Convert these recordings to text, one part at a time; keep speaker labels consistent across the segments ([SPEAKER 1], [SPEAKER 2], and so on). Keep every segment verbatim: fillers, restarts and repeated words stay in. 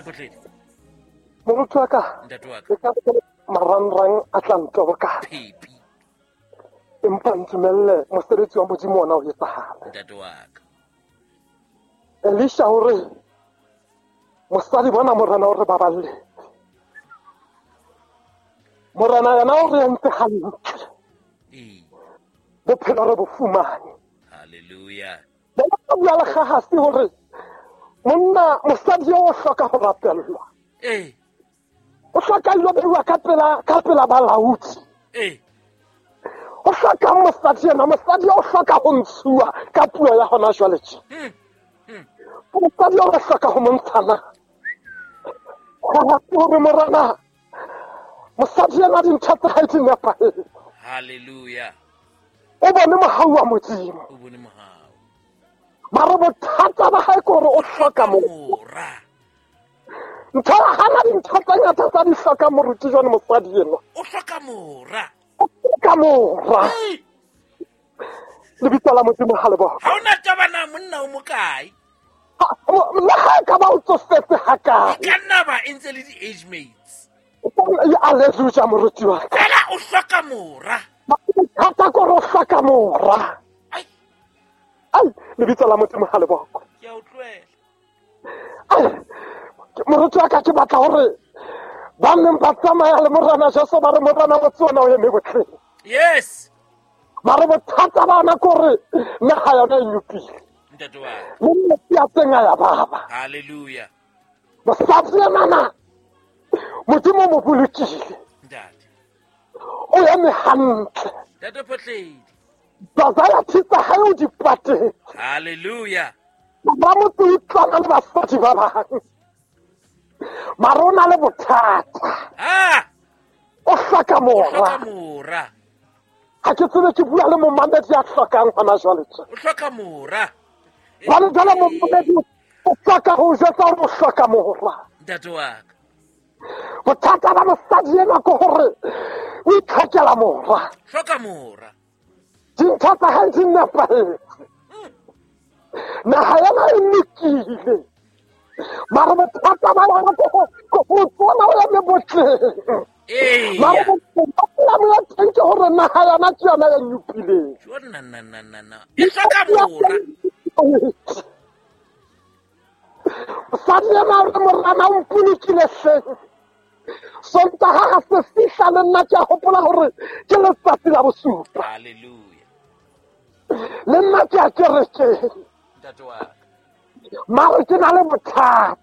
[SPEAKER 1] Photledi.
[SPEAKER 2] Moruti wa ka.
[SPEAKER 1] Ntate wa ka.
[SPEAKER 2] Marangrang a tla ntoboka.
[SPEAKER 1] Phepi.
[SPEAKER 2] Empa ntumelle mosebetsi wa Modimo ona o etsahale.
[SPEAKER 1] Ntate wa ka.
[SPEAKER 2] Elisha hore mosadi bona morena o re baballe. Morena yena o re entse hantle.
[SPEAKER 1] Ee.
[SPEAKER 2] Bophelo re bo fumane.
[SPEAKER 1] Hallelujah.
[SPEAKER 2] Ba bua le Gehasi hore monna mosadi o hloka ho rapellwa.
[SPEAKER 1] Ee.
[SPEAKER 2] O hloka ilo beiwa ka pela ka pela balaodi.
[SPEAKER 1] Ee.
[SPEAKER 2] O hloka mosadi yena, mosadi o hloka ho ntshuwa ka puo ya hona jwale tje.
[SPEAKER 1] Mm. Mm.
[SPEAKER 2] Mosadi o hloka ho montshana. Gehasi hore morena mosadi yena dintho tsa hae di nepahetse.
[SPEAKER 1] Hallelujah.
[SPEAKER 2] O bone mohau wa Modimo.
[SPEAKER 1] O bone mohau.
[SPEAKER 2] Mara bothata ba hae ke hore o hloka
[SPEAKER 1] mora.
[SPEAKER 2] Ntho ya hana dintho tse ngata tsa di hloka moruti jwane mosadi enwa.
[SPEAKER 1] O hloka mora.
[SPEAKER 2] O hloka mora. Lebitso la Modimo ha le bokwe.
[SPEAKER 1] Ha ona taba na monna o mokae?
[SPEAKER 2] Le ha e ka ba o tsofetse hakae.
[SPEAKER 1] E ka nna ba e ntse le di-age mates.
[SPEAKER 2] Alleluia moruti wa ka.
[SPEAKER 1] Fela o hloka mora.
[SPEAKER 2] Bothata ke hore o hloka mora.
[SPEAKER 1] Ai.
[SPEAKER 2] Ai, lebitso la Modimo ha le bokwe.
[SPEAKER 1] Ke a o tlohela.
[SPEAKER 2] Ai, moruti wa ka ke batla hore ba neng ba tsamaya le morena Jesu ba re morena motse ona o eme botleng.
[SPEAKER 1] Yes.
[SPEAKER 2] Mare bothata ba ona ke hore naha yona e nyopile.
[SPEAKER 1] Ntate wa ka.
[SPEAKER 2] Le metsi a teng a ya baba.
[SPEAKER 1] Hallelujah.
[SPEAKER 2] Mosadi enana Modimo o mo bolokile.
[SPEAKER 1] Ntate.
[SPEAKER 2] O eme hantle.
[SPEAKER 1] Ntate Photledi.
[SPEAKER 2] Desire tsa hae o di patetse.
[SPEAKER 1] Hallelujah.
[SPEAKER 2] Ba motse o utlwana le basadi ba bang. Mara o na le bothata.
[SPEAKER 1] Ah!
[SPEAKER 2] O hloka mora.
[SPEAKER 1] O hloka mora.
[SPEAKER 2] Ha ke tsebe ke bua le momamedi ya hlokang hona jwale tje.
[SPEAKER 1] O hloka mora.
[SPEAKER 2] Jwale jwale momamedi o hloka ho jwetsa hore o hloka mora.
[SPEAKER 1] Ntate wa ka.
[SPEAKER 2] Bothata ba mosadi enwa ke hore o itlhokela mora.
[SPEAKER 1] Hloka mora.
[SPEAKER 2] Dintho tsa hae di nepahetse. Naha yena e lokile. Mara bothata ba yona ke ho ke ho tsona o eme botleng.
[SPEAKER 1] Ee.
[SPEAKER 2] Mara bothata ya teng ke hore naha yona ke yona e nyopileng.
[SPEAKER 1] Jo na na na na na. E hloka mora.
[SPEAKER 2] Mosadi ena o re morena o mpolokile hleng. Sontaha ha se fihla le nna ke a hopola hore ke letsatsi la bosupa.
[SPEAKER 1] Hallelujah.
[SPEAKER 2] Le nna ke a kerekeng.
[SPEAKER 1] Ntate wa ka.
[SPEAKER 2] Mara ke na le bothata.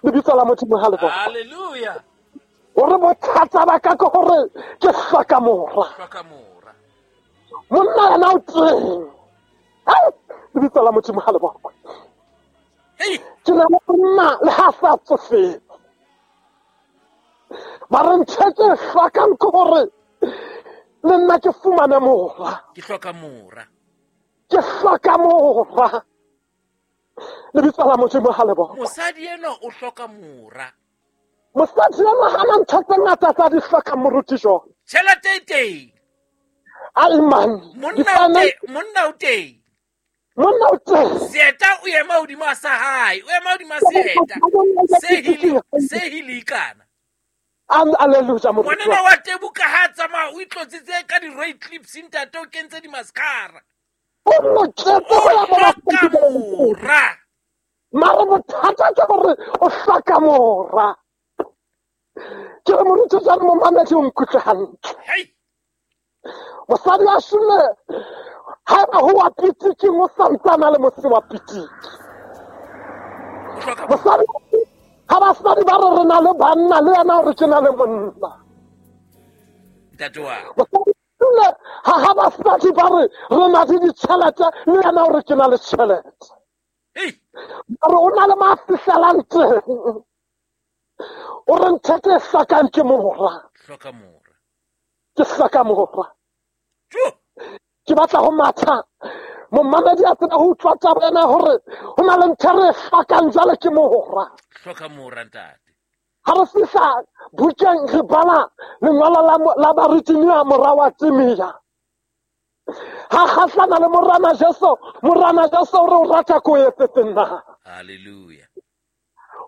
[SPEAKER 2] Lebitso la Modimo ha le bokwe.
[SPEAKER 1] Hallelujah.
[SPEAKER 2] Hore bothata ba ka ke hore ke hloka mora.
[SPEAKER 1] Hloka mora.
[SPEAKER 2] Monna yena o teng. Ai, lebitso la Modimo ha le bokwe.
[SPEAKER 1] Hey.
[SPEAKER 2] Ke na le monna le ha sa tsofetse. Mara ntho e ke e hlokang ke hore le nna ke fumane mora.
[SPEAKER 1] Ke hloka mora.
[SPEAKER 2] Ke hloka mora. Lebitso la Modimo ha le bokwe.
[SPEAKER 1] Mosadi enwa o hloka mora.
[SPEAKER 2] Mosadi enwa ha na ntho tse ngata tsa di hlokang moruti jwang.
[SPEAKER 1] Tjhelete e teng.
[SPEAKER 2] Ai man.
[SPEAKER 1] Monna o teng, monna o teng.
[SPEAKER 2] Monna o teng.
[SPEAKER 1] Seeta o ema hodima sa hae, o ema hodima seeta. Se hili, se hilikana.
[SPEAKER 2] Alleluia moruti.
[SPEAKER 1] Ngwanenwa wa tebuka ha tsamaya o itlotsitse ka di-Ray clips ntate o kentse di-mascara.
[SPEAKER 2] O loketse ho ya
[SPEAKER 1] O hloka mora.
[SPEAKER 2] Mara bothata ke hore o hloka mora. Ke re moruti jwale momamedi o nkutlwe hantle.
[SPEAKER 1] Hei.
[SPEAKER 2] Mosadi wa Shule haeba ho wa pitiking o santsana le mose wa pitiki.
[SPEAKER 1] O hloka mora.
[SPEAKER 2] Mosadi ha basadi ba re re na le banna le yena o re ke na le monna.
[SPEAKER 1] Ntate wa ka.
[SPEAKER 2] Mosadi Shule ha ha basadi ba re re na le ditjhelete le yena o re ke na le tjhelete.
[SPEAKER 1] Hei.
[SPEAKER 2] Mara o na le mo a fihlelang teng. O re ntho ke e hlokang ke mora.
[SPEAKER 1] Hloka mora.
[SPEAKER 2] Ke hloka mora.
[SPEAKER 1] Jo.
[SPEAKER 2] Ke batla ho matha. Momamedi a tseba ho utlwa taba ena hore ho na le ntho e re e hlokang jwale ke mora.
[SPEAKER 1] Hloka mora ntate.
[SPEAKER 2] Ha re fihla bukeng re bala lengolo la mo-, la Barutiwa mora wa Timea. Ha kgahlana le morena Jesu, morena Jesu o re o rata ko etsetse nna.
[SPEAKER 1] Hallelujah.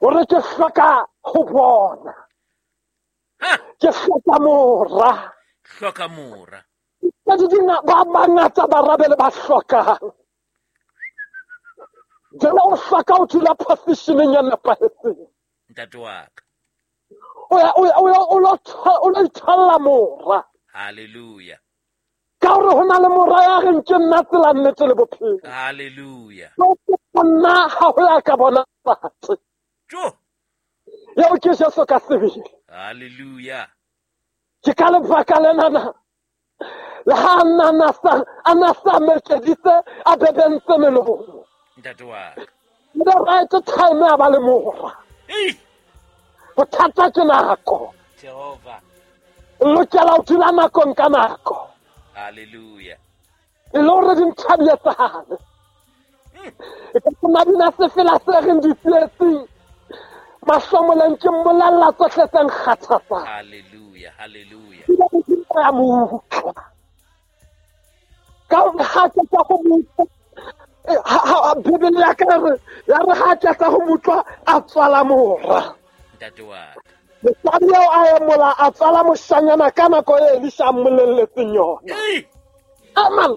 [SPEAKER 2] O re ke hloka ho bona. Ke hloka mora.
[SPEAKER 1] Hloka mora.
[SPEAKER 2] Ba ba bangata ba rabele ba hlokang. Jwale o hloka ho dula positioneng ya nepahetseng.
[SPEAKER 1] Ntate wa ka.
[SPEAKER 2] O ya o ya o lo o lo itholla mora.
[SPEAKER 1] Hallelujah.
[SPEAKER 2] Ka hore ho na le mora ya reng ke nna tsela nnete le bophelo.
[SPEAKER 1] Hallelujah.
[SPEAKER 2] Nna ha ho ya ka bona batho.
[SPEAKER 1] Jo.
[SPEAKER 2] Eo ke Jesu ka sebele.
[SPEAKER 1] Hallelujah.
[SPEAKER 2] Ke ka lebaka lenana. Le ha nna na sa ana sa mekeditse a bebentse melomo.
[SPEAKER 1] Ntate wa ka.
[SPEAKER 2] The right time a ba le mora.
[SPEAKER 1] Ei.
[SPEAKER 2] Bothata ke nako.
[SPEAKER 1] Jehova.
[SPEAKER 2] Lokela ho dula nakong ka nako.
[SPEAKER 1] Hallelujah.
[SPEAKER 2] E le hore dintho di etsahale. E ka nna dina sefela se reng di tsietsing. Mahlomoleng ke mmolella tsohle tse nkgathatsang.
[SPEAKER 1] Hallelujah, hallelujah.
[SPEAKER 2] Ya mo utlwa. Ka hore ha ke tsa ho mo utlwa, ha Bibele ya ka re, ya re ha ke tsa ho mo utlwa, a tswala mora.
[SPEAKER 1] Ntate wa ka.
[SPEAKER 2] Mosadi eo a emola a tswala moshanyana ka nako e Elisha a mmolelletseng yona. Amen.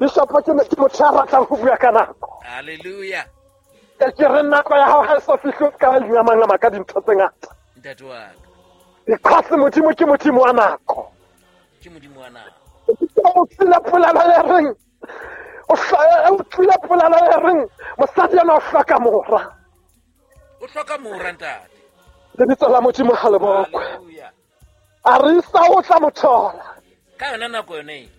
[SPEAKER 2] Bishop ke motho ya ratang ho bua ka nako.
[SPEAKER 1] Hallelujah.
[SPEAKER 2] Ke ke re nako ya hao ha e so fihle o ska ingamangama ka dintho tse ngata.
[SPEAKER 1] Ntate wa ka.
[SPEAKER 2] Because Modimo ke Modimo wa nako.
[SPEAKER 1] Ke Modimo wa nako.
[SPEAKER 2] O tlile polelo e reng, o tlile polelo e reng, mosadi ena o hloka mora.
[SPEAKER 1] O hloka mora ntate.
[SPEAKER 2] Lebitso la Modimo ha le bokwe. A re isa o tla mo thola.
[SPEAKER 1] Ka yona nako yone e.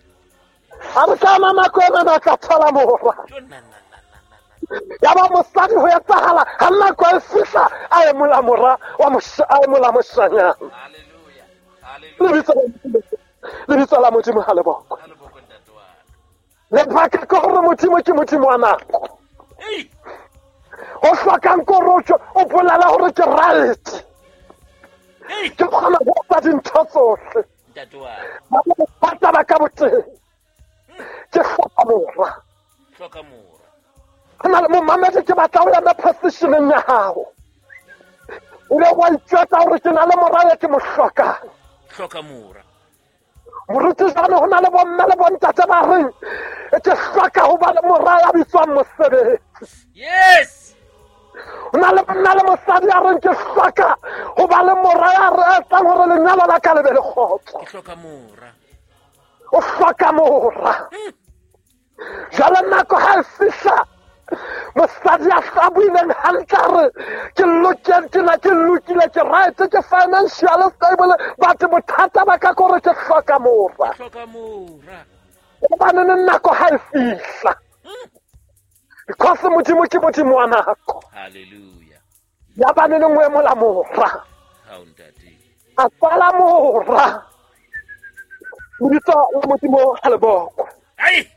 [SPEAKER 2] A re ka yona nako ena o tla thola mora. Ya ba mosadi ho etsahala ha nako e fihla a emola mora wa a emola moshanyana.
[SPEAKER 1] Hallelujah. Hallelujah.
[SPEAKER 2] Lebitso la Modimo ha le bokwe. Lebaka ke hore Modimo ke Modimo wa nako. O hlokang korotso o bolela hore ke right. Ke kgona ho etsa dintho tsohle.
[SPEAKER 1] Ntate wa
[SPEAKER 2] ka. Ba ka boteng. Ke hloka mora.
[SPEAKER 1] Hloka mora.
[SPEAKER 2] Hona le momamedi ke batla ho ema positioneng ya hao. O le wa itjwetsa hore ke na le mora ya ke mo hlokang.
[SPEAKER 1] Hloka mora.
[SPEAKER 2] Moruti jane ho na le bomme le bontate ba reng ke hloka ho ba le mora ya bitswang mosebetsi.
[SPEAKER 1] Yes.
[SPEAKER 2] Ho na le monna le mosadi ya reng ke hloka ho ba le mora ya re etsang hore lenyalo la ka le be le kgotso.
[SPEAKER 1] Ke hloka mora.
[SPEAKER 2] O hloka mora. Jwale nako ha e fihla mosadi a sa buileng hantle a re ke lokile ke na ke lokile ke right ke financial stable but bothata ba ka kore ke hloka mora.
[SPEAKER 1] Hloka mora.
[SPEAKER 2] Hobane nako ha e fihla. Because Modimo ke Modimo wa nako.
[SPEAKER 1] Hallelujah.
[SPEAKER 2] Ya ba ne nngwe emola mora.
[SPEAKER 1] Ha o ntate.
[SPEAKER 2] A tswala mora. Lebitso la Modimo ha le bokwe.
[SPEAKER 1] Ai.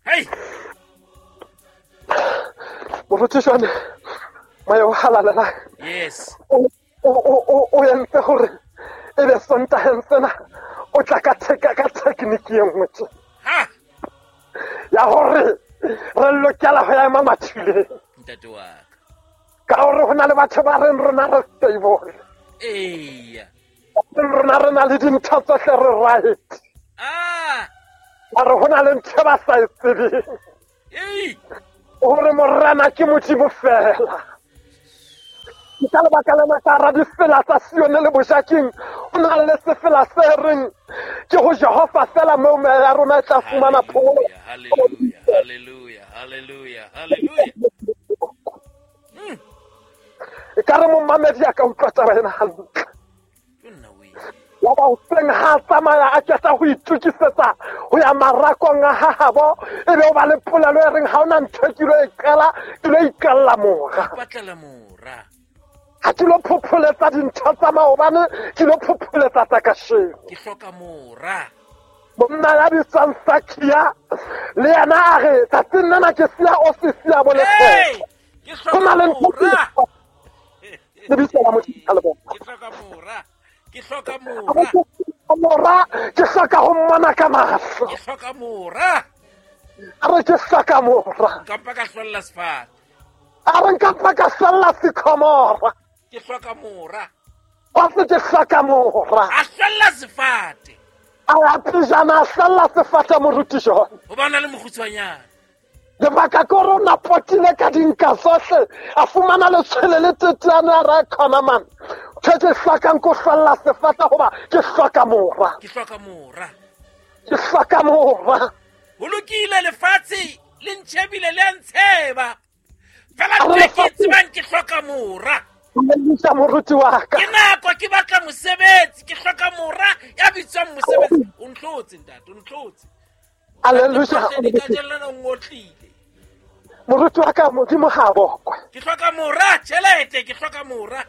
[SPEAKER 1] Hey.
[SPEAKER 2] Moruti jwane moya o halalelang.
[SPEAKER 1] Yes.
[SPEAKER 2] O o o entse hore e be Sontaheng sena o tla ka theka ka technique e nngwe tje.
[SPEAKER 1] Ha.
[SPEAKER 2] Ya hore re lokela ho ya ema mathuleng.
[SPEAKER 1] Ntate wa ka.
[SPEAKER 2] Ka hore ho na le batho ba reng rona re stable.
[SPEAKER 1] Eya.
[SPEAKER 2] Rona re na le dintho tsohle re right.
[SPEAKER 1] Ah.
[SPEAKER 2] Mare ho na le ntho ba sa e tsebeng.
[SPEAKER 1] Ei.
[SPEAKER 2] Hore morena ke Modimo fela. Ke ka lebaka lena ka hara difela tsa Sione le Bojakeng ho na le sefela se reng ke ho Jehova fela moo meya ya rona e tla fumana phomolo.
[SPEAKER 1] Hallelujah, hallelujah, hallelujah, hallelujah.
[SPEAKER 2] E ka re momamedi a ka utlwa taba ena hantle. Wa ba hoseng ha tsamaya a qeta ho itokisetsa ho ya marakong a hahabo e be o ba le polelo e reng ha ona ntho e ke lo e qela ke lo iqella mora.
[SPEAKER 1] Ipatlela mora.
[SPEAKER 2] Ha ke lo phopholetsa dintho tsa maobane ke lo phopholetsa tsa kasheno.
[SPEAKER 1] Ke hloka mora.
[SPEAKER 2] Monna ya bitswang Sakia le yena a re tsatsing lena ke siya ofisi ya bo lekgetho.
[SPEAKER 1] Ke hloka mora.
[SPEAKER 2] Lebitso la Modimo ha le bokwe.
[SPEAKER 1] Ke hloka mora. Ke hloka mora.
[SPEAKER 2] Mora ke hloka ho mmona ka mahlo.
[SPEAKER 1] Ke hloka mora.
[SPEAKER 2] A re ke hloka mora.
[SPEAKER 1] Nka mpa ka hlolla sefate.
[SPEAKER 2] A re nka tla ka hlalla sycamore.
[SPEAKER 1] Ke hloka mora.
[SPEAKER 2] Wa se ke hloka mora.
[SPEAKER 1] A hlalla sefate.
[SPEAKER 2] A ya pejana a hlalla sefate moruti John.
[SPEAKER 1] Ho bana le mokgutshwanyane.
[SPEAKER 2] Lebaka ke hore o na potile ka dinka tsohle, a fumana letshwele le teteane a re khona man. Ke ke hlokang ko hlalla sefate hoba ke hloka mora.
[SPEAKER 1] Ke hloka mora.
[SPEAKER 2] Ke hloka mora.
[SPEAKER 1] Ho lokile lefatshe le ntshebile le ntsheba. Fela ke ke tsebang ke hloka mora.
[SPEAKER 2] Mmusa moruti wa ka.
[SPEAKER 1] Ke nako ke batla mosebetsi, ke hloka mora ya bitswang mosebetsi. O ntlotse ntate, o ntlotse.
[SPEAKER 2] Hallelujah.
[SPEAKER 1] Ka jellana o ngotlile.
[SPEAKER 2] Moruti wa ka Modimo ha bokwe.
[SPEAKER 1] Ke hloka mora, tjhelete, ke hloka mora.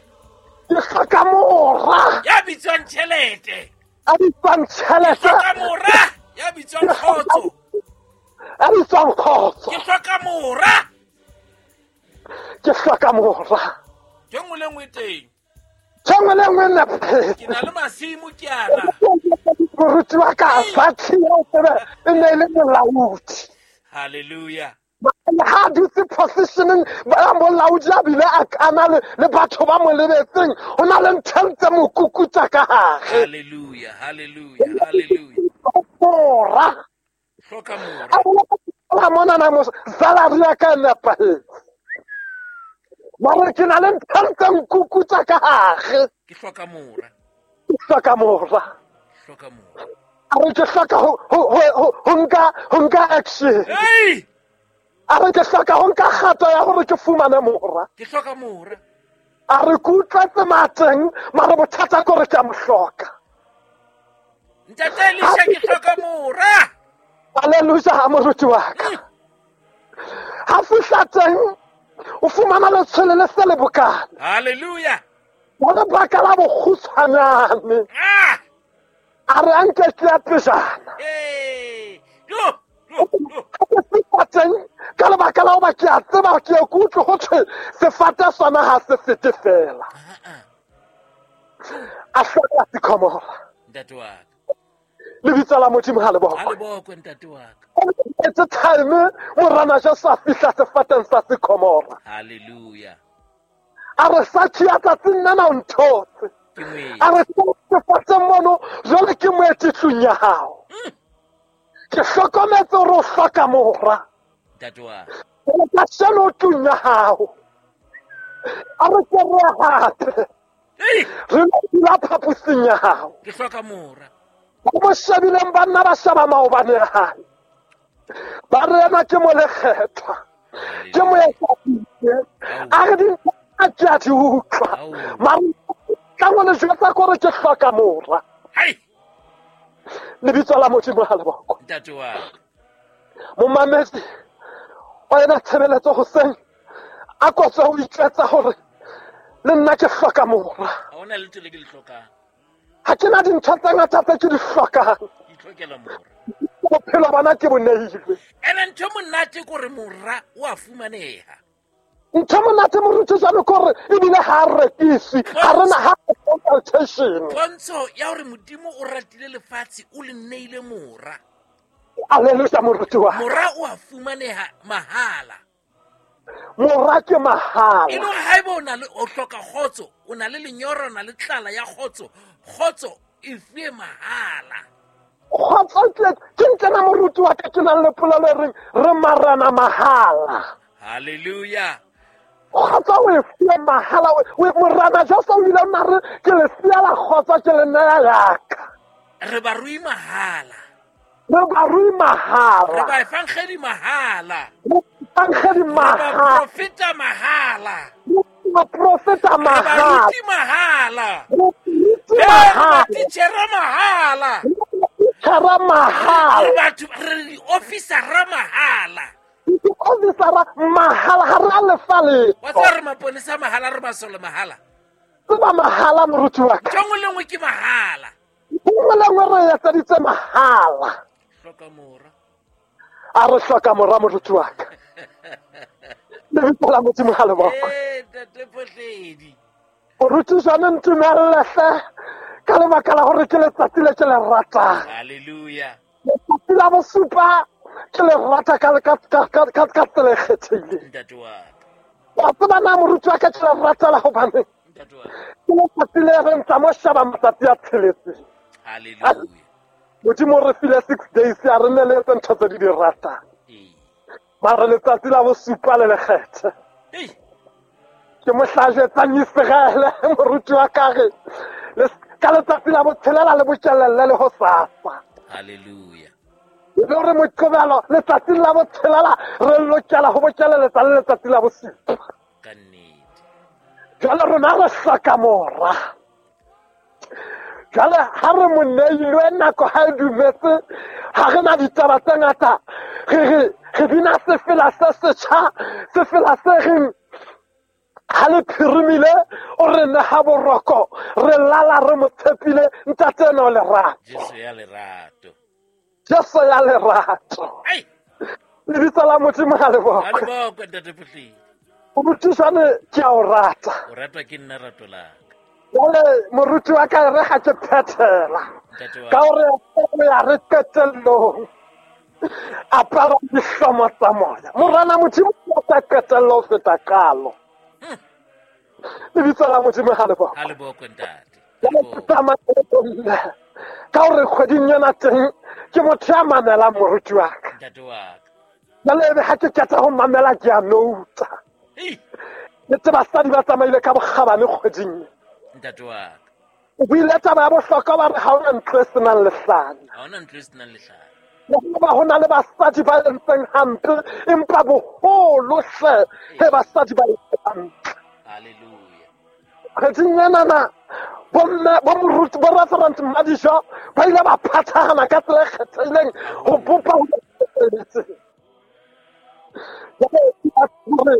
[SPEAKER 2] Ke hloka mora.
[SPEAKER 1] Ya bitswang tjhelete.
[SPEAKER 2] A bitswang tjhelete.
[SPEAKER 1] Ke hloka mora, ya bitswang kgotso.
[SPEAKER 2] A bitswang kgotso.
[SPEAKER 1] Ke hloka mora.
[SPEAKER 2] Ke hloka mora.
[SPEAKER 1] Ke nngwe le nngwe teng.
[SPEAKER 2] Ke nngwe le nngwe nepahetse.
[SPEAKER 1] Ke na le masimo ke ana.
[SPEAKER 2] Moruti wa ka Sathi ya tsebe e ne e le molaodi.
[SPEAKER 1] Hallelujah.
[SPEAKER 2] Ha dutse positioning ba molaodi a bile a kana le le batho ba mo lebetseng ho na le ntho tse mo kukutsa ka hare.
[SPEAKER 1] Hallelujah, hallelujah, hallelujah.
[SPEAKER 2] Mora.
[SPEAKER 1] Hloka mora.
[SPEAKER 2] A mona na mo salary ya ka nepahetse. Mara ke na le ntho tse nkukutsa ka hare.
[SPEAKER 1] Ke hloka mora.
[SPEAKER 2] Ke hloka mora.
[SPEAKER 1] Hloka mora.
[SPEAKER 2] A re ke hloka ho ho ho nka ho nka action.
[SPEAKER 1] Hey!
[SPEAKER 2] A re ke hloka ho nka kgato ya hore ke fumane mora.
[SPEAKER 1] Ke hloka mora.
[SPEAKER 2] A re ke utlwetse mateng, mara bothata ke hore ke a mo hloka.
[SPEAKER 1] Ntate Elisha ke hloka mora.
[SPEAKER 2] Hallelujah, moruti wa ka. Ha fihla teng o fumana letshwele le se le bokana.
[SPEAKER 1] Hallelujah.
[SPEAKER 2] Wa lebaka la bokgutshwanyane.
[SPEAKER 1] Ah!
[SPEAKER 2] A re anke ke ya pejana.
[SPEAKER 1] Hey! Yo! Yo! Yo!
[SPEAKER 2] Teng ka lebaka la hoba ke a tseba ke ye ke utlwe ho thwe sefate sona ha se fete fela. A hloka sycamore.
[SPEAKER 1] Ntate wa ka.
[SPEAKER 2] Lebitso la Modimo ha le bokwe.
[SPEAKER 1] Ha le bokwe ntate wa ka.
[SPEAKER 2] It's a time morana Jesu a fihla sefateng sa sycamore.
[SPEAKER 1] Hallelujah.
[SPEAKER 2] A re Sathi ya tsatsing nna o nthotse. A re sefateng mono jwale ke moeti tlung ya hao. Ke hlokometse hore o hloka mora.
[SPEAKER 1] Ntate wa ka.
[SPEAKER 2] Ka sheno tlung ya hao. A re ke re hape. Re dula phaposing ya hao.
[SPEAKER 1] Ke hloka mora.
[SPEAKER 2] Ba mo shebileng banna ba sheba maobane a hae. Ba re ena ke molekgethwa. Ke moetapele. A re dintho a ke a di utlwa. Mara ka ngwana jwetsa ke hore ke hloka mora.
[SPEAKER 1] Hai!
[SPEAKER 2] Lebitso la Modimo ha le bokwe.
[SPEAKER 1] Ntate wa ka.
[SPEAKER 2] Momamedi wa ena tshebeletso hoseng a kotswe ho itjwetsa hore le nna ke hloka mora.
[SPEAKER 1] Ha hona letho le ke le hlokang.
[SPEAKER 2] Ha ke na dintho tse ngata tse ke di hlokang.
[SPEAKER 1] Ke itlhokela mora.
[SPEAKER 2] Bophelo bana ke bo neilwe.
[SPEAKER 1] Ene ntho monate ke hore mora o a fumaneha.
[SPEAKER 2] Ntho monate moruti jwalo ke hore ebile ha a rekiswe, ha re na ha consultation.
[SPEAKER 1] Pontsho ya hore Modimo o ratile lefatshe o le neile mora.
[SPEAKER 2] Hallelujah moruti wa.
[SPEAKER 1] Mora o a fumaneha mahala.
[SPEAKER 2] Mora ke mahala.
[SPEAKER 1] E le hore haeba o na le o hloka kgotso, o na le lenyora, o na le tlala ya kgotso, kgotso e fuwe mahala.
[SPEAKER 2] Kgotso ke ke ntlena moruti wa ka ke nang le polelo e reng re marana mahala.
[SPEAKER 1] Hallelujah.
[SPEAKER 2] Kgotso o e fuwe mahala, o morana Jesu o ile a re ke le siela kgotso ke le neya yaka.
[SPEAKER 1] Re barui mahala.
[SPEAKER 2] Re barui mahala.
[SPEAKER 1] Re ba evangeli mahala.
[SPEAKER 2] Re evangeli mahala.
[SPEAKER 1] Re ba profeta mahala.
[SPEAKER 2] Re ba profeta mahala.
[SPEAKER 1] Re ba ruti mahala.
[SPEAKER 2] Re ruti
[SPEAKER 1] Re
[SPEAKER 2] mahala.
[SPEAKER 1] ba titjhere mahala.
[SPEAKER 2] Titjhere mahala.
[SPEAKER 1] Re batho re di-officera mahala.
[SPEAKER 2] Di-officera mahala ha re a lefa letho.
[SPEAKER 1] Wa tseba re maponesa mahala, re masole mahala.
[SPEAKER 2] Tseba mahala moruti wa ka.
[SPEAKER 1] Ntho nngwe le nngwe ke mahala.
[SPEAKER 2] Nngwe le nngwe re etseditse mahala.
[SPEAKER 1] Hloka mora.
[SPEAKER 2] A re hloka mora moruti wa ka. Lebitso la Modimo ha le bokwe.
[SPEAKER 1] Eh, ntate Phohledi.
[SPEAKER 2] Moruti jwane ntumelle hle ka lebaka la hore ke letsatsi le ke le ratang.
[SPEAKER 1] Hallelujah.
[SPEAKER 2] Letsatsi la bosupa ke le rata ka ka ka ka ka tsela e kgethehileng.
[SPEAKER 1] Ntate wa ka.
[SPEAKER 2] Wa tseba na moruti wa ka ke le ratela hobane
[SPEAKER 1] Ntate wa ka.
[SPEAKER 2] ke letsatsi le reng tsa mo sheba matsatsi a tsheletseng.
[SPEAKER 1] Hallelujah.
[SPEAKER 2] Modimo o re file six days a re ne le etse ntho tse di di ratang.
[SPEAKER 1] Ee.
[SPEAKER 2] Mara letsatsi la bosupa le lekgethe.
[SPEAKER 1] Ei.
[SPEAKER 2] Ke mohla a jwetsang Iseraele moruti wa ka re le ka letsatsi la botshelela le bokelelle le hosasa.
[SPEAKER 1] Hallelujah.
[SPEAKER 2] E be hore Moqebelo letsatsing la botshelela re lokela ho bokelletsa le letsatsi la bosupa.
[SPEAKER 1] Ka nnete.
[SPEAKER 2] Jwale rona re hloka mora. Jwale ha re mo neilwe nako ha e dumetse, ha re na ditaba tse ngata, re re re bina sefela se setjha, sefela se reng ha le phirimile o re neha boroko, re lala re mo tshepile, ntate ena o lerato.
[SPEAKER 1] Jesu ya lerato.
[SPEAKER 2] Jesu ya lerato.
[SPEAKER 1] Ai.
[SPEAKER 2] Lebitso la Modimo ha le
[SPEAKER 1] Ha le
[SPEAKER 2] bokwe.
[SPEAKER 1] bokwe ntate Phuhledi.
[SPEAKER 2] Morutisane ke a o rata.
[SPEAKER 1] O ratwa ke nna rato la ka.
[SPEAKER 2] Jwale moruti wa ka re ga ke phethela.
[SPEAKER 1] Ntate wa
[SPEAKER 2] Ka hore o ya re qetellong. Apara dihlomo tsa moya. Morena Modimo o tla qetella ho feta qalo. Lebitso la Modimo ha le bokwe.
[SPEAKER 1] Ha le bokwe ntate. Ha le
[SPEAKER 2] Jwale ke
[SPEAKER 1] bokwe.
[SPEAKER 2] tsamaya le bomme. Ka hore kgweding ena teng ke motho ya mamelang moruti wa ka.
[SPEAKER 1] Ntate wa ka.
[SPEAKER 2] Jwale ebe ha ke qeta ho mamela ke a nouta.
[SPEAKER 1] Ei.
[SPEAKER 2] Le tse basadi ba tsamaile ka bokgabane kgweding.
[SPEAKER 1] Ntate wa ka.
[SPEAKER 2] O buile taba ya bohlokwa ba re ha hona ntlo e senang lehlanya.
[SPEAKER 1] Ha hona ntlo e senang lehlanya.
[SPEAKER 2] Le hoba ho na le basadi ba entseng hampe, empa boholo hle he basadi ba entseng hantle.
[SPEAKER 1] Hallelujah.
[SPEAKER 2] Kgweding enana bomme bo moruti bo Reverend Madijo ba ile ba phathahana ka tsela e kgethehileng ho bopa ho feletseng. Jwale ke hore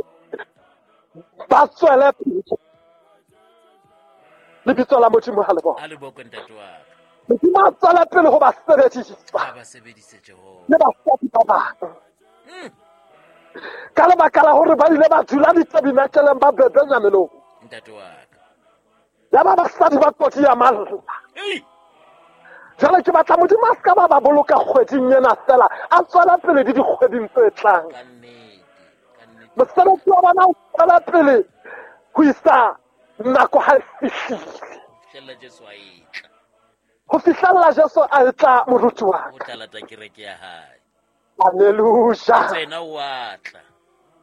[SPEAKER 2] ba tswele pele. Lebitso la Modimo ha le bokwe.
[SPEAKER 1] Ha le bokwe ntate wa ka.
[SPEAKER 2] Modimo a tswela pele ho ba sebedisa.
[SPEAKER 1] Ha ba sebedise Jehova.
[SPEAKER 2] Le basadi ba bang.
[SPEAKER 1] Mm.
[SPEAKER 2] Ka lebaka la hore ba ile ba dula ditabernakeleng ba bebenya melomo.
[SPEAKER 1] Ntate wa ka.
[SPEAKER 2] Ya ba basadi ba kotsi ya malla.
[SPEAKER 1] Ei.
[SPEAKER 2] Jwale ke batla Modimo a ska ba ba boloka kgweding ena fela, a tswela pele le dikgweding tse tlang.
[SPEAKER 1] Ka nnete. Ka nnete.
[SPEAKER 2] Mosebetsi wa bona o tswela pele ho isa nako ha e fihlile.
[SPEAKER 1] Ho fihlella Jesu a etla.
[SPEAKER 2] Ho fihlella Jesu a etla moruti wa
[SPEAKER 1] O
[SPEAKER 2] ka.
[SPEAKER 1] tla lata kereke ya hae.
[SPEAKER 2] Hallelujah.
[SPEAKER 1] Tsena o a tla.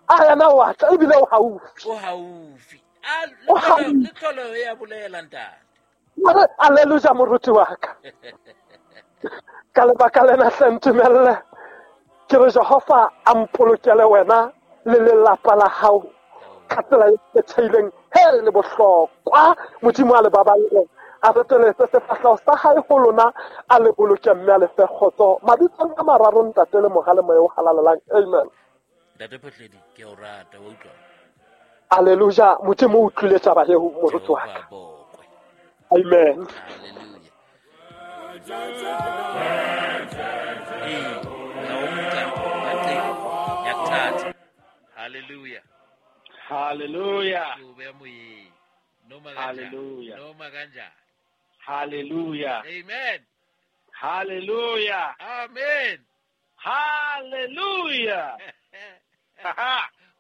[SPEAKER 2] A yena o a tla ebile o haufi.
[SPEAKER 1] O haufi. A
[SPEAKER 2] O haufi.
[SPEAKER 1] le tlholo ya bolela ntate.
[SPEAKER 2] Mare hallelujah moruti wa ka. Ka lebaka lena hle ntumelle ke re Jehova a mpolokele wena le lelapa la hao ka tsela e kgethehileng he le bohlokwa. Modimo a le baballe, a reteletse sefahleho sa hae ho lona, a le boloke mme a le fe kgotso. Mabitsong a mararo ntate le Mora le Moya o Halalelang. Amen.
[SPEAKER 1] Ntate Phuhledi ke o rata wa utlwa.
[SPEAKER 2] Hallelujah. Modimo o utlwile taba eo moruti wa
[SPEAKER 1] Jehova
[SPEAKER 2] ka.
[SPEAKER 1] bokwe.
[SPEAKER 2] Amen.
[SPEAKER 1] Hallelujah. Ee, ya o nka ka teng, ya kuthatha. Hallelujah.
[SPEAKER 3] Hallelujah.
[SPEAKER 1] Ke o beha moyeng. Noma kanjani.
[SPEAKER 3] Hallelujah.
[SPEAKER 1] Noma kanjani.
[SPEAKER 3] Hallelujah.
[SPEAKER 1] Amen.
[SPEAKER 3] Hallelujah.
[SPEAKER 1] Amen.
[SPEAKER 3] Hallelujah.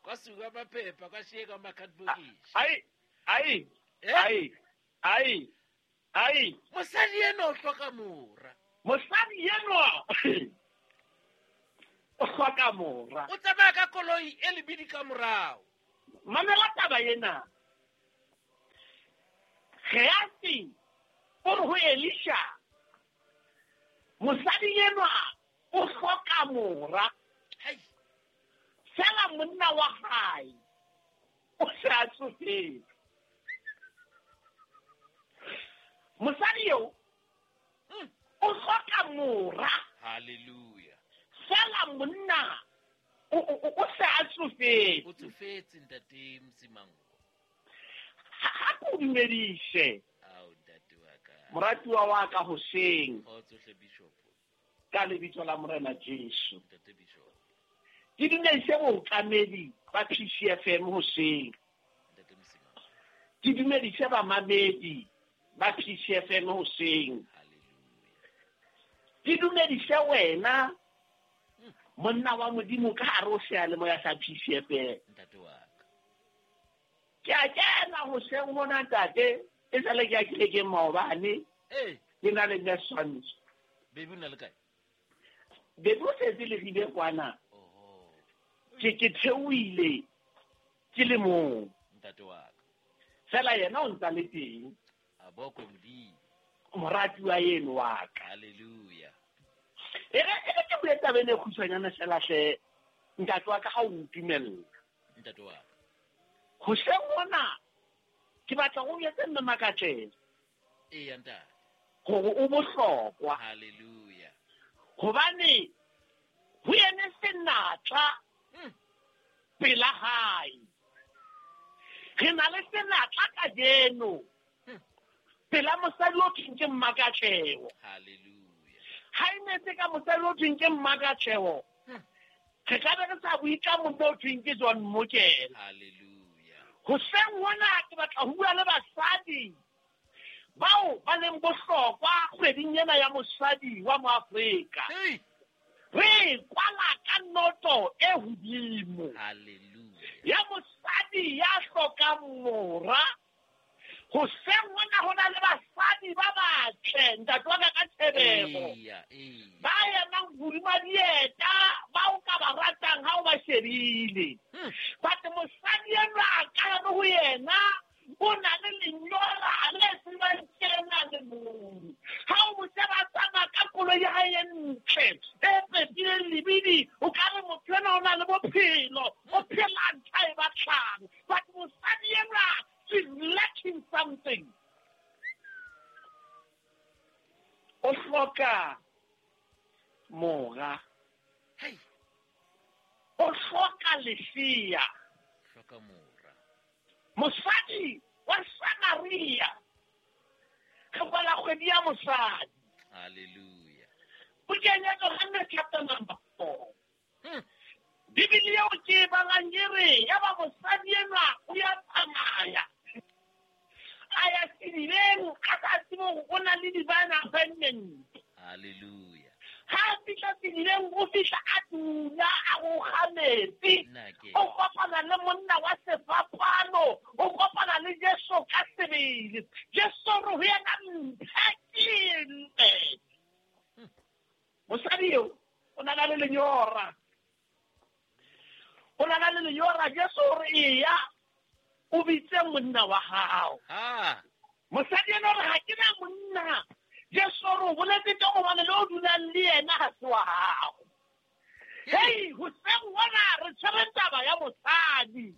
[SPEAKER 1] Kwasuka amaphepha kwashiyeka amakhadibhokisi.
[SPEAKER 3] Ai, ai,
[SPEAKER 1] Eh?
[SPEAKER 3] ai, ai, ai.
[SPEAKER 1] Mosadi enwa o hloka mora.
[SPEAKER 3] Mosadi enwa o hloka mora.
[SPEAKER 1] O tsamaya ka koloi e lebidi ka morao.
[SPEAKER 3] Mamela taba ena. Gehazi o re ho Elisha, mosadi enwa o hloka mora.
[SPEAKER 1] Hai.
[SPEAKER 3] Fela monna wa hae o se a tsofetse. Mosadi eo
[SPEAKER 1] Mm.
[SPEAKER 3] o hloka mora.
[SPEAKER 1] Hallelujah.
[SPEAKER 3] Fela monna o o o se a tsofetse.
[SPEAKER 1] O tsofetse ntate Msimango.
[SPEAKER 3] Ha ke o dumedise.
[SPEAKER 1] Ao ntate wa ka.
[SPEAKER 3] Moratuwa wa ka hoseng.
[SPEAKER 1] Kgotso hle Bishop.
[SPEAKER 3] Ka lebitso la Morena Jesu.
[SPEAKER 1] Ntate Bishop.
[SPEAKER 3] Ke dumedise bookamedi ba P C F M hoseng.
[SPEAKER 1] Ntate Msimango.
[SPEAKER 3] Ke dumedise bamamedi ba P C F M hoseng.
[SPEAKER 1] Hallelujah.
[SPEAKER 3] Ke dumedise wena monna wa Modimo ka hare ho seyalemoya sa P C F M.
[SPEAKER 1] Ntate wa ka.
[SPEAKER 3] Ke a kena hoseng hona ntate, e sale ke a kile ke maobane.
[SPEAKER 1] Ee.
[SPEAKER 3] Ke na le nne Swantsho.
[SPEAKER 1] Baby o na le kae?
[SPEAKER 3] Baby o setse le rile kwana.
[SPEAKER 1] Oho.
[SPEAKER 3] Ke ke theohile ke le mong.
[SPEAKER 1] Ntate wa ka.
[SPEAKER 3] Fela yena o ntsa le teng.
[SPEAKER 1] A bokwe Modimo.
[SPEAKER 3] Moratuwa eno wa ka.
[SPEAKER 1] Hallelujah.
[SPEAKER 3] E re e re ke bue taba ena e kgutshwanyane fela hle, ntate wa ka ha o ntumella.
[SPEAKER 1] Ntate wa ka.
[SPEAKER 3] Hoseng hona ke batla go jwetse mme Makatlela.
[SPEAKER 1] Eya ntate.
[SPEAKER 3] Hore o bohlokwa.
[SPEAKER 1] Hallelujah.
[SPEAKER 3] Hobane ho yene senatla
[SPEAKER 1] Mm.
[SPEAKER 3] pela hae. Re na le senatla kajeno.
[SPEAKER 1] Mm.
[SPEAKER 3] Pela mosadi o thweng ke Mmakatleho.
[SPEAKER 1] Hallelujah.
[SPEAKER 3] Ha e ne se ka mosadi o thweng ke Mmakatleho,
[SPEAKER 1] Mm.
[SPEAKER 3] re ka be re sa bue ka monna o thweng ke John Mokela.
[SPEAKER 1] Hallelujah.
[SPEAKER 3] Hoseng hona ke batla ho bua le basadi bao ba leng bohlokwa kgweding ena ya mosadi wa Moafrika.
[SPEAKER 1] Hey.
[SPEAKER 3] Re kwala ka noto e hodimo.
[SPEAKER 1] Hallelujah.
[SPEAKER 3] Ya mosadi ya hlokang mora. Hoseng hona ho na le basadi ba batle, ntate wa ka ka tshebego.
[SPEAKER 1] Eya, eya.
[SPEAKER 3] Ba emang hodima dieta, ba o ka ba ratang ha o ba shebile.
[SPEAKER 1] Hmm.
[SPEAKER 3] But mosadi enwa a ka hare ho yena, o na le lenyora le tsebang kena le mong. Ha o mo sheba a tsamaya ka koloi ya hae e ntle, e pepileng lebidi, o ka re motho enwa o na le bophelo, o phela ntho ae batlang. But mosadi enwa, she's lacking something. O hloka mora.
[SPEAKER 1] Hey.
[SPEAKER 3] O hloka lesea.
[SPEAKER 1] Hloka mora.
[SPEAKER 3] Mosadi wa Samaria. Re kwala kgwedi ya mosadi.
[SPEAKER 1] Hallelujah.
[SPEAKER 3] Bukeng ya Johannes chapter number four.
[SPEAKER 1] Hmm.
[SPEAKER 3] Bibele eo ke e balang e re, ya ba mosadi enwa o ya tsamaya. A ya sedibeng, a sa tsebe hore o na le divine appointment.
[SPEAKER 1] Hallelujah.
[SPEAKER 3] Ha a fihla sedibeng, o fihla a dula, a roga metsi.
[SPEAKER 1] Nna ke.
[SPEAKER 3] O kopana le monna wa sefapano, o kopana le Jesu ka sebele. Jesu o re ho yena, mphe ke nwe. Mosadi eo o na le lenyora. O na le lenyora. Jesu o re eya, o bitse monna wa hao.
[SPEAKER 1] Ha.
[SPEAKER 3] Mosadi ena o re ha ke na monna. Jesu o re o boletse teng hobane le o dulang le yena ha se wa hao. Hei, hoseng hona re tshwere taba ya mosadi.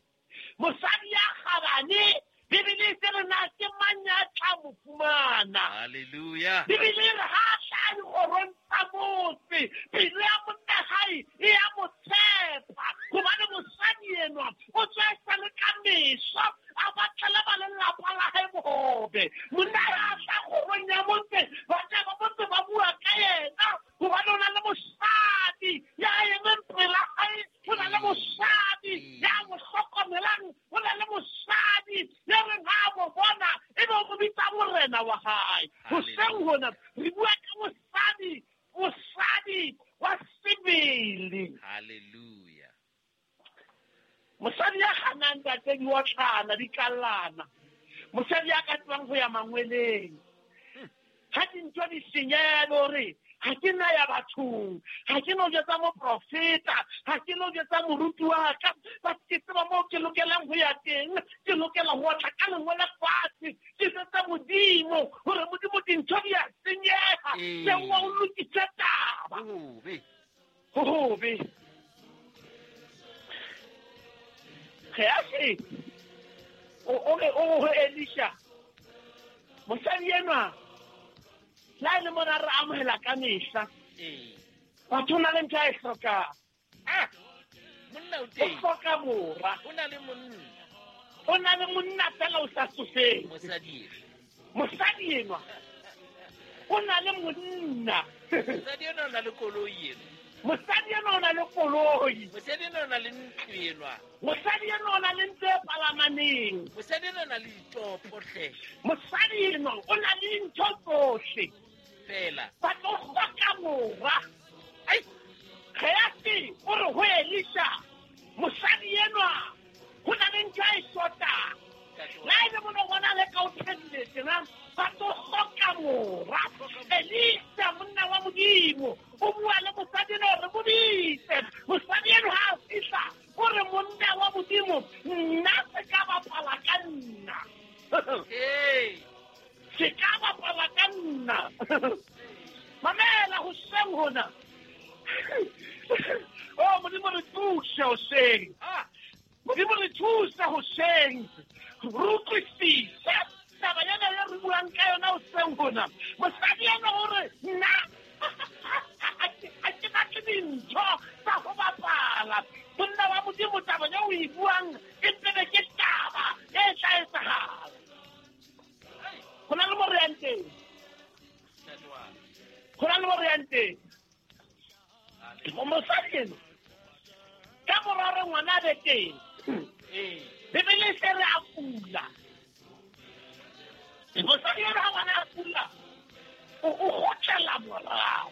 [SPEAKER 3] Mosadi ya kgabane, Bibele e re na ke mang ya tla mo fumana.
[SPEAKER 1] Hallelujah.
[SPEAKER 3] Bibele e re ha a tla dikgorong tsa motse, pelo ya monna hae e ya mo tshepa. Hobane mosadi enwa o tswa e sa le ka meso, a batlele ba lelapa la hae bohobe. Monna ha a tla kgorong ya motse, batho ba motse ba bua ka yena, hobane o na le mosadi ya emeng pela hae, o na le mosadi ya mo hlokomelang, o na le mosadi ya reng ha a mo bona, ebe o mo bitsa morena wa hae. Hoseng hona re bua ka mosadi, mosadi wa sebele.
[SPEAKER 1] Hallelujah.
[SPEAKER 3] Mosadi ya kganang ntate di otlana, di kallana. Mosadi ya ka tsebang ho ya mangweleng. Ha dintho di senyeha hore ha ke na ya bathong, ha ke no jwetsa moprofeta, ha ke no jwetsa moruti wa ka, ba ke tseba moo ke lokelang ho ya teng, ke lokela ho otla ka lengwele fatshe, ke jwetsa Modimo hore Modimo dintho di a senyeha,
[SPEAKER 1] Ee.
[SPEAKER 3] teng wa o lokise taba.
[SPEAKER 1] Hobe.
[SPEAKER 3] Hobe. Gehazi, o, o re, o ho Elisha, mosadi enwa, le ha e le mona re amohela ka mehla.
[SPEAKER 1] Ee.
[SPEAKER 3] Batho o na le ntho a e hlokang.
[SPEAKER 1] Ah, monna o
[SPEAKER 3] O
[SPEAKER 1] teng.
[SPEAKER 3] hloka mora.
[SPEAKER 1] O na le monna.
[SPEAKER 3] O na le monna fela o sa tsofetse.
[SPEAKER 1] Mosadi enwa.
[SPEAKER 3] Mosadi enwa. O na le monna.
[SPEAKER 1] Mosadi enwa o na le koloi enwa.
[SPEAKER 3] Mosadi enwa o na le koloi.
[SPEAKER 1] Mosadi enwa o na le ntlo enwa.
[SPEAKER 3] Mosadi enwa o na le ntlo e palamaneng.
[SPEAKER 1] Mosadi enwa o na le ditopo hle.
[SPEAKER 3] Mosadi enwa o na le dintho tsohle.
[SPEAKER 1] Fela.
[SPEAKER 3] But o hloka mora.
[SPEAKER 1] Ai.
[SPEAKER 3] Gehazi o re ho Elisha, mosadi enwa ho na le ntho a e shotang. Modimo o bua le mosadi eno re boditse mosadi eno ha a fihla o re monna wa Modimo nna se ka bapala ka nna se ka bapala ka nna mamela hoseng hona oh Modimo re thuse hoseng Modimo re thuse hoseng re utlwisise taba ena e re buang ka yona hoseng hona mosadi ena o re nna ha ke batle dintho tsa ho bapala monna wa Modimo taba eo o e buang e mpebe ke taba e tla etsahala ho na le mo re yang teng ho na le mo re yang teng mosadi eno ka mora hore ngwana a be teng Bibele e se re a kula mosadi eno ha ngwana a kula o kgutlela morao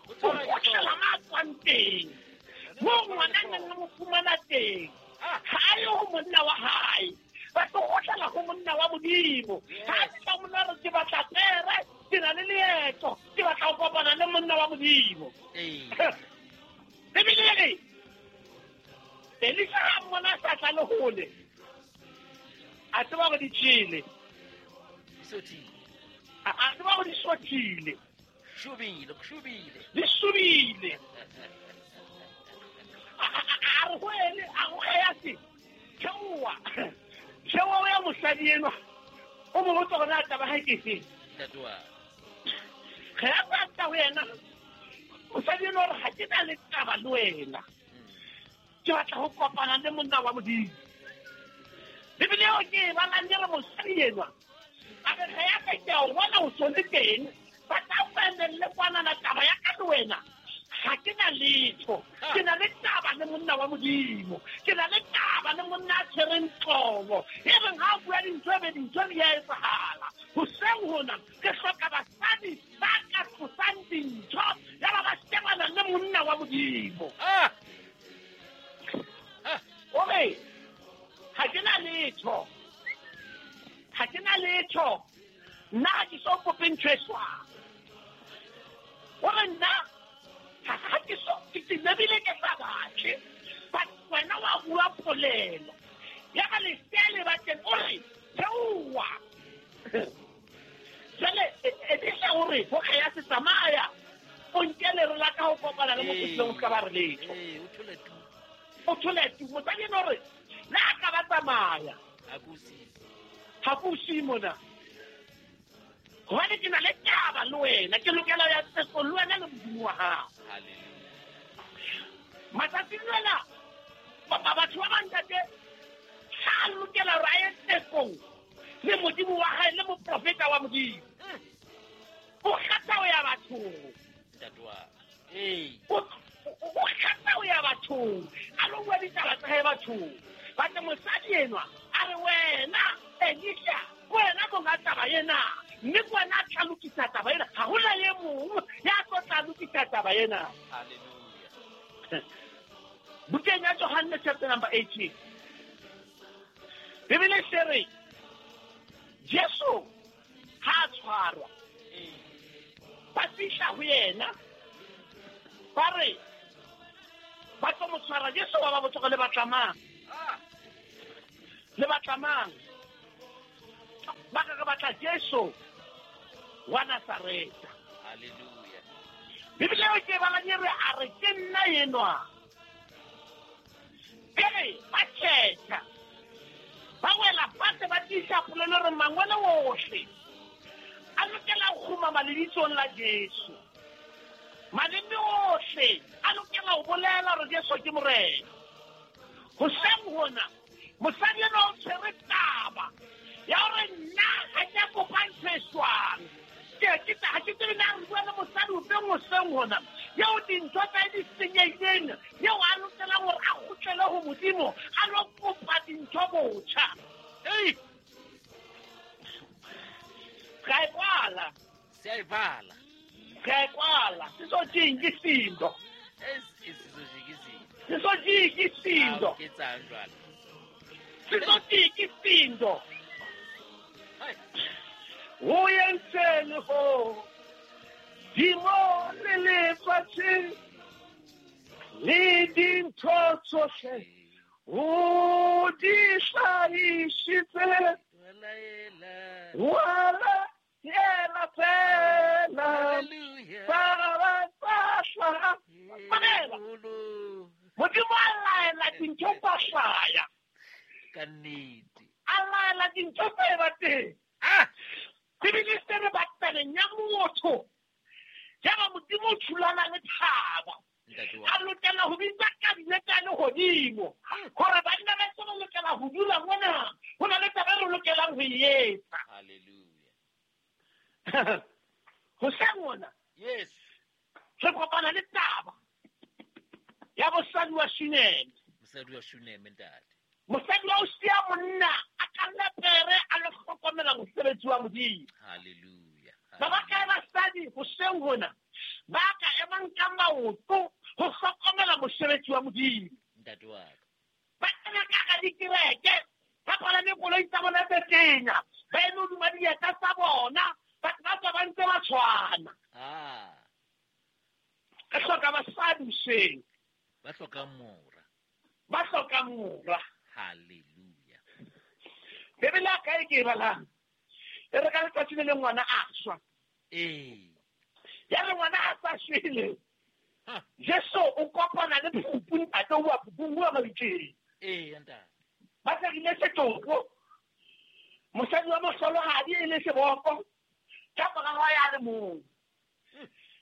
[SPEAKER 3] o kgutlela ma a tswang teng moo ngwana a neng a mo fumana teng ha a ye ho monna wa hae ba tlo kgutlela ho monna wa Modimo ha a fihla monna re ke batla pere ke na le leeto ke batla ho kopana le monna wa Modimo Bibele e re Elisa ha mmona a sa tla le hole a tseba hore di tjhele a tseba hore di sothile
[SPEAKER 1] shubile shubile
[SPEAKER 3] di shubile a re ho ene a go Gehazi theoha theoha o ya mosadi enwa o mo botsa hore na taba hae ke efe Gehazi a tla ho yena mosadi enwa o re ha ke na le taba le wena ke batla ho kopana le monna wa Modimo Bibele eo ke e balang e re mosadi enwa a re Gehazi ke a o bona o so le teng ba tla o emelle kwanana taba ya ka le wena ha ke na letho ke na le taba le monna wa Modimo ke na le taba le monna a tshwereng tlobo e reng ha o bua dintho ebe dintho di a etsahala hoseng hona ke hloka basadi ba ka tlosang dintho ya ba ba shebana le monna wa Modimo o re ha ke na letho ha ke na letho nna ha ke so kope ntho e swang o re nna ha ke so ke lebile ke sa batle but wena wa bua polelo ya ka lesea le batleng o re theoha jwale Elisa o re ho Gehazi tsamaya o nke lere la ka ho kopana le mokgotleng o se ka ba re letho o thole tu mosadi eno o re le a ka ba tsamaya ha ke o siye mona hobane ke na le taba le wena ke lokela ho ya tsekong le wena le Modimo wa hao matsatsing ana batho ba bang ntate ha a lokela hore a ye tsekong le Modimo wa hae le moprofeta wa Modimo o kgetha ho ya bathong o kgetha ho ya bathong a lo bua ditaba tsa hae bathong batle mosadi enwa a re wena Elisha wena monga taba ena mme ke wena a tla lokisa taba ena ha hona e mong ya tlo tla lokisa taba ena
[SPEAKER 1] Hallelujah
[SPEAKER 3] bukeng ya Johannes chapter number eighteen Bibele se re Jesu ha a tshwarwa ba fihla ho yena ba re ba tlo mo tshwara Jesu wa ba botsa hore le batla mang le batla mang ba re re batla Jesu wa Nazareta
[SPEAKER 1] Hallelujah
[SPEAKER 3] Bibele eo ke e balang e re a re ke nna enwa ke re ba tjhetjha ba wela fatshe ba tiisa polelo re mangwele ohle a lokela ho kgumama lebitsong la Jesu maleme ohle a lokela ho bolela hore Jesu ke Morena hoseng hona mosadi enwa o tshwere taba ya hore nna ha ke a kopa ntho e swang ke ke ha ke tsebe na re bua le mosadi o feng hoseng hona eo dintho tsa hae di senyehileng eo a lokelang hore a kgutlele ho Modimo a lo kopa dintho botjha
[SPEAKER 1] Ei
[SPEAKER 3] re a e kwala
[SPEAKER 1] se a e bala
[SPEAKER 3] re a e kwala sisojinga isindo
[SPEAKER 1] Sizojika izinto
[SPEAKER 3] sisojika isindo
[SPEAKER 1] ke etsang jwale
[SPEAKER 3] sisojika isindo
[SPEAKER 1] Hai
[SPEAKER 3] o entseng ho Lehodimo le lefatshe le dintho tsohle o di hlahisitse, wa laela fela tsa ba tsa hlaha. Mamela, Modimo a laela dintho tsa hlaya.
[SPEAKER 1] Ka nnete.
[SPEAKER 3] A laela dintho tsa eba teng.
[SPEAKER 1] Ah!
[SPEAKER 3] Bibele se re batabeng ya motho. Yaba Modimo o thulana le thaba. A lokela ho bitsa kabinete ya lehodimo hore banna ba se ba lokela ho dula mona, ho na le taba e re lokelang ho e etsa.
[SPEAKER 1] Hallelujah.
[SPEAKER 3] Hoseng hona,
[SPEAKER 1] Yes.
[SPEAKER 3] re kopana le taba ya mosadi wa Shuneme.
[SPEAKER 1] Mosadi wa Shuneme, ntate.
[SPEAKER 3] Mosadi wa o siya monna a kalla pere a lo hlokomela mosebetsi wa Modimo.
[SPEAKER 1] Hallelujah.
[SPEAKER 3] Ba ba kae basadi hoseng hona ba ka emang ka maoto ho hlokomela mosebetsi wa Modimo?
[SPEAKER 1] Ntate wa ka.
[SPEAKER 3] Ba kena ka hara dikereke, ba palame koloi tsa bona tse tenya, ba eme hodima dieta tsa bona, batho ba tswa ba ntse ba tshwana.
[SPEAKER 1] Ah.
[SPEAKER 3] Re hloka basadi hoseng.
[SPEAKER 1] Ba hlokang mora.
[SPEAKER 3] Ba hlokang mora.
[SPEAKER 1] Hallelujah.
[SPEAKER 3] Bibele ya ka e ke e balang, e re ka letsatsi le leng ngwana a shwa.
[SPEAKER 1] Ee.
[SPEAKER 3] Ya re ngwana a sa shwele,
[SPEAKER 1] Ha.
[SPEAKER 3] Jesu o kopana le phupu, ntate o bua phupung, o bua mabitleng.
[SPEAKER 1] Ee, ntate.
[SPEAKER 3] Ba tsekile setopo, mosadi wa mohlolohadi e le seboko, ka mora wa ya le mong.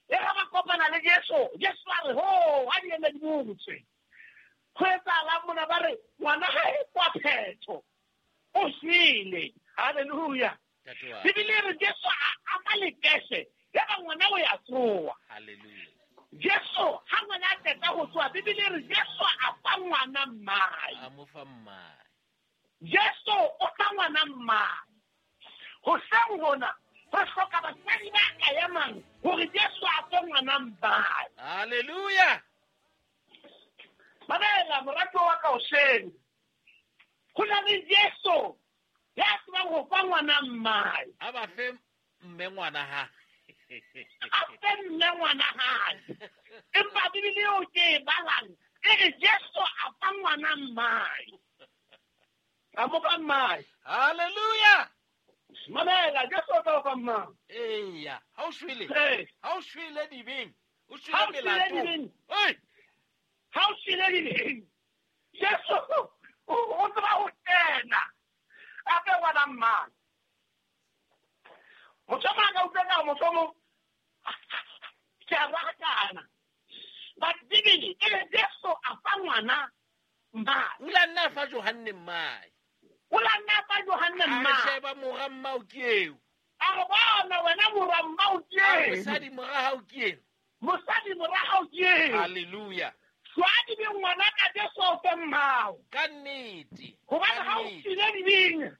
[SPEAKER 3] E ga ba kopana le Jesu, Jesu a re, ho, ha di eme di botse. Ho etsahalang mona? Ba re, ngwana hae kwa phetho, o shwele. Hallelujah.
[SPEAKER 1] Ntate wa ka.
[SPEAKER 3] Bibele e re Jesu a ama lekese, yaba ngwana o ya tsoha.
[SPEAKER 1] Hallelujah.
[SPEAKER 3] Jesu ha ngwana a qeta ho tsoha, Bibele e re Jesu a fa ngwana mmae.
[SPEAKER 1] A mo fa mmae.
[SPEAKER 3] Jesu o fa ngwana mmae. Hoseng hona re hloka basadi ba ka emang hore Jesu a fe ngwana mmae.
[SPEAKER 1] Hallelujah.
[SPEAKER 3] Mamela, moratuwa wa ka hoseng, ho na le Jesu ya tsebang ho fa ngwana mmae.
[SPEAKER 1] A ba fe mme ngwana ha.
[SPEAKER 3] A fe mme ngwana hae. Empa Bibele eo ke e balang e re Jesu a fa ngwana mmae. A mo fa mmae.
[SPEAKER 1] Hallelujah.
[SPEAKER 3] Mamela, Jesu o tla o fa mmae.
[SPEAKER 1] Eya, ha o shwele.
[SPEAKER 3] Ee.
[SPEAKER 1] Ha o shwele dibeng, o shwele
[SPEAKER 3] Ha o shwele
[SPEAKER 1] melatong.
[SPEAKER 3] dibeng.
[SPEAKER 1] Oi.
[SPEAKER 3] Ha o shwele dibeng, Jesu o o tseba ho kena a fe ngwana mmae. Motho o mong a ka utlwa ka hore mohlomong ke a rakana. But Bibele e re Jesu a fa ngwana mmae.
[SPEAKER 1] O la nna fa Johanne mmae.
[SPEAKER 3] O la nna fa Johanne
[SPEAKER 1] A re
[SPEAKER 3] mmae.
[SPEAKER 1] sheba mora mmao ke eo.
[SPEAKER 3] A re bona wena mora mmao ke
[SPEAKER 1] A re
[SPEAKER 3] eo.
[SPEAKER 1] mosadi mora hao ke eo.
[SPEAKER 3] Mosadi mora hao ke eo.
[SPEAKER 1] Hallelujah.
[SPEAKER 3] Jwale dibeng ngwana ka Jesu o fe mmao.
[SPEAKER 1] Ka nnete.
[SPEAKER 3] Hobane
[SPEAKER 1] Ka
[SPEAKER 3] ha o
[SPEAKER 1] nnete.
[SPEAKER 3] shwele dibeng,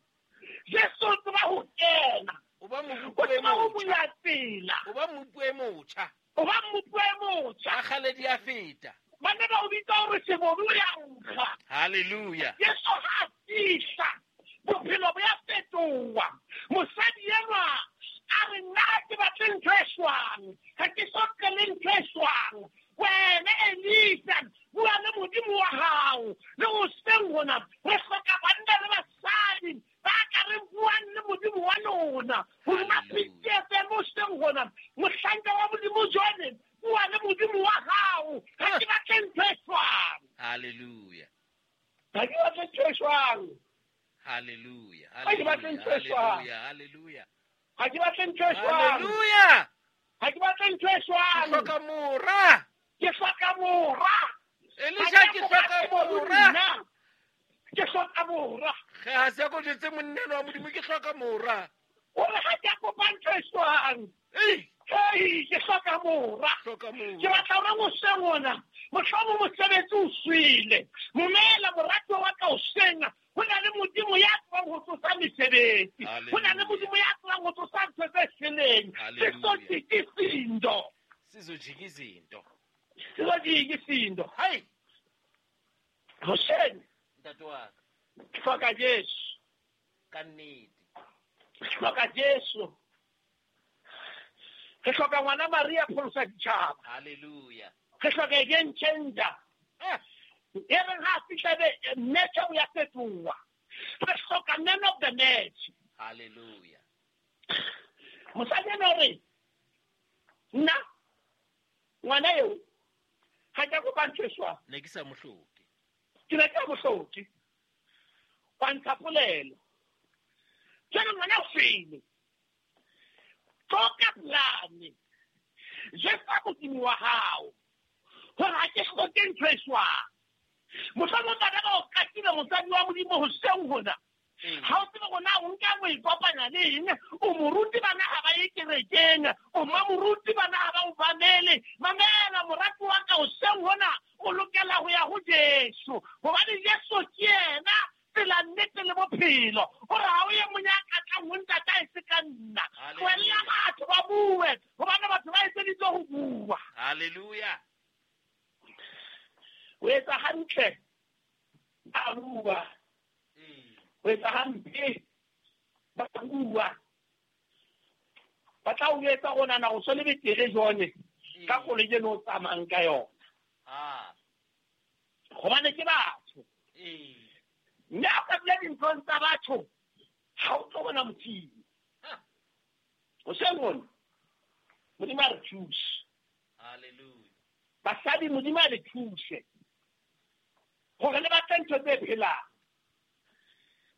[SPEAKER 3] Jesu o tseba ho kena.
[SPEAKER 1] O ba
[SPEAKER 3] O
[SPEAKER 1] moruti e
[SPEAKER 3] tseba ho
[SPEAKER 1] motjha.
[SPEAKER 3] bula tsela.
[SPEAKER 1] O ba moruti e motjha.
[SPEAKER 3] O ba moruti e motjha.
[SPEAKER 1] Ba kgale di a feta.
[SPEAKER 3] Ba ne ba o bitsa hore sebodu o ya nkga.
[SPEAKER 1] Hallelujah.
[SPEAKER 3] Jesu ha a fihla, bophelo bo ya fetoha. Mosadi enwa a re, nna ha ke batle ntho e shwang, ha ke so tlele ntho e shwang. Wena Elisa, bua le Modimo wa hao. Le hoseng hona re hloka banna le basadi ba ka re buang le Modimo wa lona. Hodima
[SPEAKER 1] Hallelujah.
[SPEAKER 3] P T F M hoseng hona, mohlanka wa Modimo jwale, bua le Modimo wa hao. Ha ke batle ntho e shwang.
[SPEAKER 1] Hallelujah.
[SPEAKER 3] Ha ke batle ntho e shwang.
[SPEAKER 1] Hallelujah.
[SPEAKER 3] Ha ke batle ntho e shwang.
[SPEAKER 1] Hallelujah. Hallelujah.
[SPEAKER 3] Ha ke batle ntho e shwang.
[SPEAKER 1] Hallelujah.
[SPEAKER 3] Ha ke batle ntho e
[SPEAKER 1] Ke
[SPEAKER 3] shwang.
[SPEAKER 1] hloka mora.
[SPEAKER 3] Ke hloka mora.
[SPEAKER 1] Elisha, ke hloka mora.
[SPEAKER 3] Ke hloka mora.
[SPEAKER 1] Ge ha se ko jwetse monna wa Modimo, ke hloka mora.
[SPEAKER 3] O re ha ke a kopa ntho e shwang.
[SPEAKER 1] Ei.
[SPEAKER 3] Ei, ke hloka mora.
[SPEAKER 1] Hloka mora.
[SPEAKER 3] Ke batla hore hoseng hona, mohlomong mosebetsi o shwele. Momela moratuwa wa ka hoseng, ho na le Modimo ya tsebang ho tsosa mesebetsi. Ho na le Modimo ya tsebang ho tsosa ntho tse shweleng.
[SPEAKER 1] Hallelujah.
[SPEAKER 3] Se so jika izinto.
[SPEAKER 1] Sizojika izinto.
[SPEAKER 3] Sizojika izinto.
[SPEAKER 1] Hai.
[SPEAKER 3] Hoseng.
[SPEAKER 1] Ntate wa ka.
[SPEAKER 3] Ke hloka Jesu.
[SPEAKER 1] Ka nnete.
[SPEAKER 3] Ke hloka Jesu. Re hloka ngwana Maria pholosa ditjhaba.
[SPEAKER 1] Hallelujah.
[SPEAKER 3] Re hloka a game changer. E reng ha fihla be match o ya fetoha. Re hloka man of the match.
[SPEAKER 1] Hallelujah.
[SPEAKER 3] Mosadi ena o re nna ngwana eo ga ke kopa ntho e swang.
[SPEAKER 1] Ne ke sa mo hloke.
[SPEAKER 3] Ke ne ke sa mo hloke. Wa ntsha polelo. Jwale ngwana o shwele. Tloka polane. Jwetsa Modimo wa hao hore ha ke hloke ntho e swang. Mohlomong bana ba o katile mosadi wa Modimo hoseng hona. Ha o tsebe hore na o nka o ikopanya le eng, o moruti bana ha ba ye kerekeng, o mamoruti bana ha ba o mamele. Mamela morati wa ka hoseng hona, o lokela ho ya ho Jesu. Hobane Jesu ke yena tsela, nnete le bophelo. O re ha o ye monyaka tlang ho ntata e se ka nna. Tlohella batho ba bue, hobane batho ba etseditswe ho bua.
[SPEAKER 1] Hallelujah.
[SPEAKER 3] O etsa hantle, ba bua. O etsa hampe, ba bua. Ba tla o etsa go nana go so le betere jone ka koloi eno o tsamayang ka yona.
[SPEAKER 1] Ah.
[SPEAKER 3] Hobane ke batho. Mme ha o ka dula dinthong tsa batho, ha o tlo bona Modimo. Hoseng hona, Modimo a re thuse.
[SPEAKER 1] Hallelujah.
[SPEAKER 3] Basadi, Modimo a le thuse hore le batle ntho tse phelang.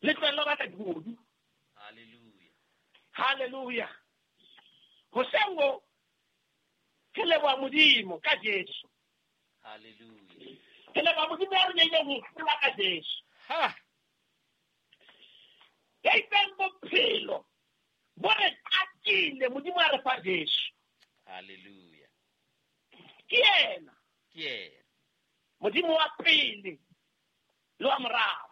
[SPEAKER 3] Le tlohelle ho batla dibodu.
[SPEAKER 1] Hallelujah.
[SPEAKER 3] Hallelujah. Hoseng ho, ke leboha Modimo ka Jesu.
[SPEAKER 1] Hallelujah.
[SPEAKER 3] Ke leboha Modimo ya re neileng ho hlola ka Jesu.
[SPEAKER 1] Ha.
[SPEAKER 3] Ya itseng bophelo bo re qakile, Modimo a re fa Jesu.
[SPEAKER 1] Hallelujah.
[SPEAKER 3] Ke yena.
[SPEAKER 1] Ke yena.
[SPEAKER 3] Modimo wa pele le wa morao.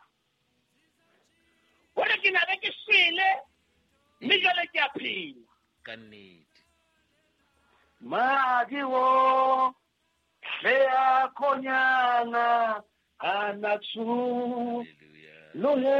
[SPEAKER 3] O re ke na be ke shwele, mme jwale ke a phela.
[SPEAKER 1] Ka nnete.
[SPEAKER 3] Madi o hle a khonyana a na tshu.
[SPEAKER 1] Hallelujah.
[SPEAKER 3] Lohe